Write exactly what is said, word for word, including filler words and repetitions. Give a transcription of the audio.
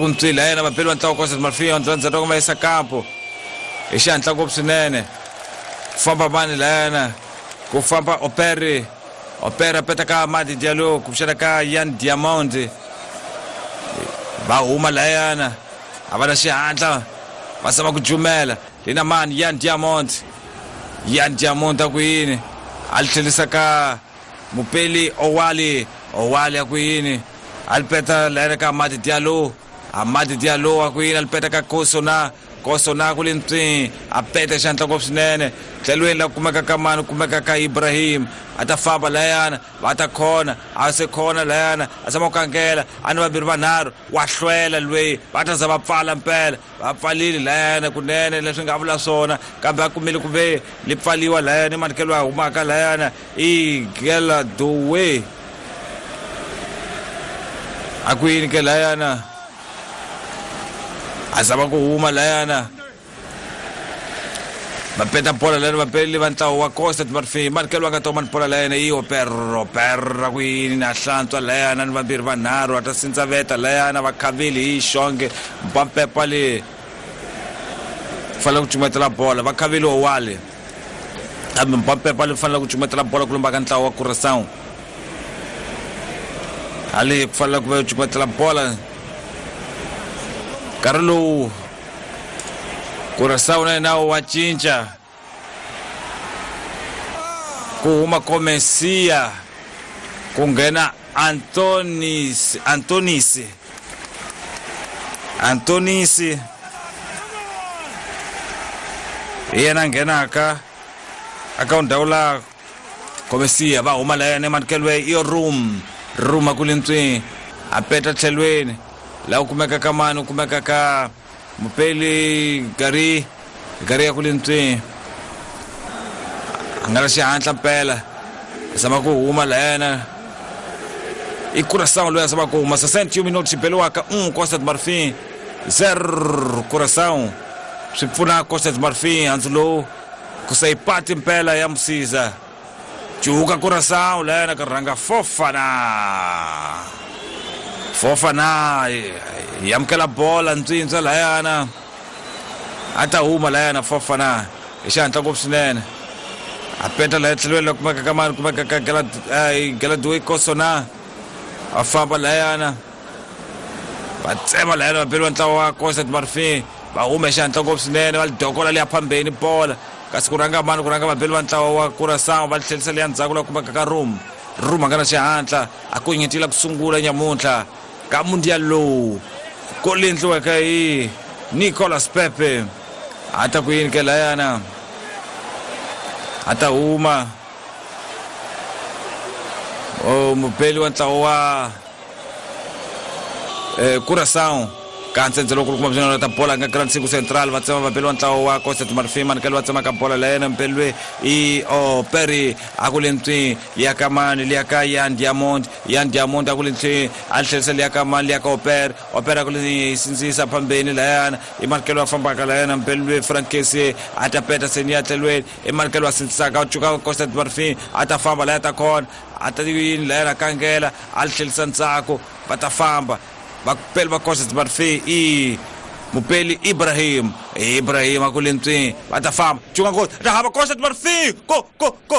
Ntswila yena vapeli va ntlawa Costa do Marfim andzandzata ku va yisa kampo hi xihatla ngopfu swinene. Famba mani layana ku famba Operi Opera peta ka Madi Diallo ku pfuxela ka Yan Diamond va huma layana a va na xihatla va zama ku jumela lina mani Yan Diamond Yan Diamond a ku yini a li tlhelisa ka Mupeli Owali Owali a ku yini a li peta layana ka Madi Diallo Amadi Diallo a ku yini a li peta ka Kosona Kosona ku le ntswini a peta xandla ngopfu swinene tlhelweni la kumeka ka mani kumeka ka Ibrahim a ta famba layana va ta khona a se khona layana a zama ku kangela a ni vambirhi vanharhu wa hlwela lweyi va ta za va pfala mpela va pfalile layana kunene leswi nga vula swona kambe a kumile ku ve li pfaliwa layana i manikelo a humaka layana i Gela Dowe a ku yini ke layana a zama ku huma layana va peta bola layana vapeli va ntlawa wa Costa do Marfim manikelo va nga toma ni bola layana i Opera Opera ku yini na hlantswa layana ni vambirhi vanharhu a ta sindzaveta layana va khavile hi xonge mpampepa le fanele ku cumetela bola va khavile Owali kambe mpampepa le fanele ku cumetela bola ku lomba ka ntlawa wa Curaçao hali ku fanele ku va cumetela bola nkarhi lowu Curaçao na yena wa cinca ku huma Komesia ku nghena Antonis Antonisi Antonisi hi yena nghenaka aka ndhawu la Komesia va huma la yena emanikelo i room room a ku le ntswini a peta tlhelweni la u kumeka ka mani u kumeka ka Mupeli Gari Gari ya ku le ntswini a nga na xihatla mpela a zama ku huma layana i Curaçao loyi a zama ku huma sessenta e um minutos xibeliwaka um Costa do Marfim zero Curaçao swi pfuna Costa do Marfim handzu lowu ku sa yi pati mpela ya Musiza cuka Curaçao layana ka rhanga Fofana Fofana yi amukela bola ntswintswa layana a ta huma layana Fofana hi xihatla ngopfu swinene a peta laya tlhelweni la kumeka ka mani kumeka ka Galaduwe Kosona a famba layana va tsema layana vapeli va ntlawa wa Costa do Marfim va huma hi xihatla ngopfu swinene va li dokola liya phambeni bola kasi ku rhanga mani ku rhanga vapeli va ntlawa wa Curaçao va li tlhelisa liya ndzhaku la kumeka ka Room Room a nga na xihatla a ku nyetila ku sungula nyamuntlha ka mundial lowu ko li endliweke hi Nicolas Pepe a ta ku yini ke layana a ta huma o mupeli wa ntlawa wa eh, Curaçao ka ntsendze loko kuma byona ta bola nga Grand Cinco Central va tsema vapeli wa ntlawa wa Costa do Marfim manikelo va tsema ka bola layena mpeli loyi i Operi a ku le ntswini liya ka mani liya ka Yan Diamond Yan Diamond a ku le ntswini a tlherisa liya ka mani liya ka Opera Opera a ku le sindzisa phambeni layana i manikelo va fambaka layana mpeli loyi Frankesi a ta peta seni ya tlhelweni i manikelo va sindzisaka a cuka Costa do Marfim a ta famba laya ta khona a ta yini layana kangela a tlherisa ndzhaku va ta famba vapeli va Costa do Marfim i Mupeli Ibrahim Ibrahim a ku le ntswini va ta famba cuka ngoti ta hava Costa do Marfim ko ko ko